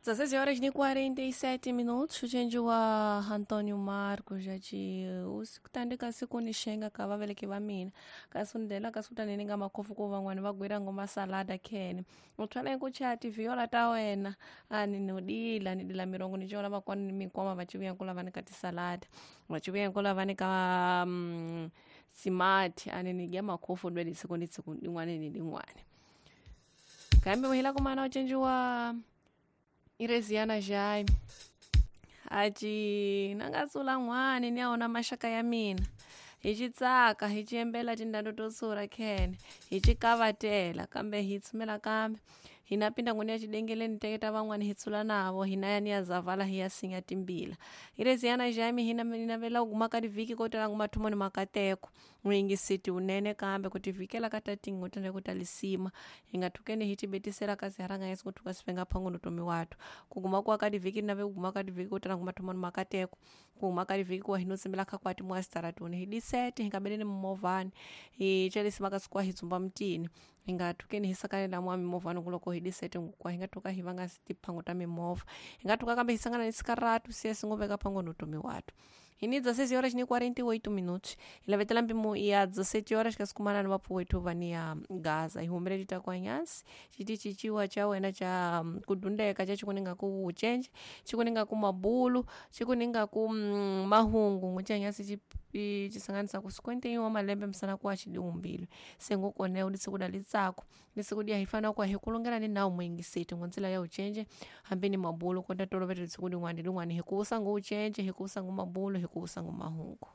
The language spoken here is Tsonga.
16 horas e 47 minutos. Uchenji wa Antônio Marcos aci usikutandika siku nixenga ka vaveleki va mina kasi undela kasi utanene nga makhofu ku van'wani va gwira ngoma salada khene u thwala ku chaya tivhiola ta wena ani no dila ni dila mirongo ni cola vakwani ni mikwama va civuya ku lava ni ka tisalada va civuya ku lava ni ka simati ani ni dya makhofu dwele siku ni siku din'wani ni din'wani kambe muhila kumana uchenji wa Ireziana Jaime aci nangatsula n'wani ni ya wona maxaka ya mina hi ci tsaka hi ci yembela tindhawu to tsura khene hi ci kavatela kambe hi tshumela kambe hi na pinda ngwini ya xidengeleni teketa van'wani hi tshula navo hina ya ni ya zavala hi ya sinya timbila Ireziana Jaime hi na navela ku guma ka tivhiki ko tala nguma thumo ni makateko n'wingisiti wunene kambe ku tivhikela ka tatingo tende ku talisima hi nga thukeni hi tibetisela kasi haranga yesu kuthuka sifenga phango nutomi wathu kuguma kuwa ka tivhiki nave kuguma ka tivhiki ko tala nguma thumo ni makateko kuguma ka tivhiki kuwa hi no tsimbela kha kwati mwasitaratuni hi disete hi nga beleni mimovhani hi celisima kasi kuwa hi dzumba mutini hi nga thukeni hi sakanela mwa mimovhani kuloko hi disete ngukwa hi nga thuka hi vanga tiphango ta mimovha hi nga thuka kambe hi sangana ni sikaratu siye singoveka phango nutomi wathu hi ni 16 horas ni 48 minutos hi lavetela mpimo ya 17 horas kasi kumana ni vapfuwethu va ni ya gaza hi humeleli ta kwanyasi xiti cinciwa cha wena cha kudundeka cha xikuninga ku wucenje xikuninga ku mabulu xikuninga ku mahungu ngucanyasi cisanganisa ku 51 wa malembe misana kuwa xidiwumbile se ngukoneo lisikuda litsako lisikudia hi fana kuwa hi kulungela ni nawu muyingiseti ngontsila ya ucenje hambi ni mabulu kota tolovela lisiku lin'wani lin'wani hi kusa ngu ucenje hi kusa ngu mabulu hi kusa ngu mahungu.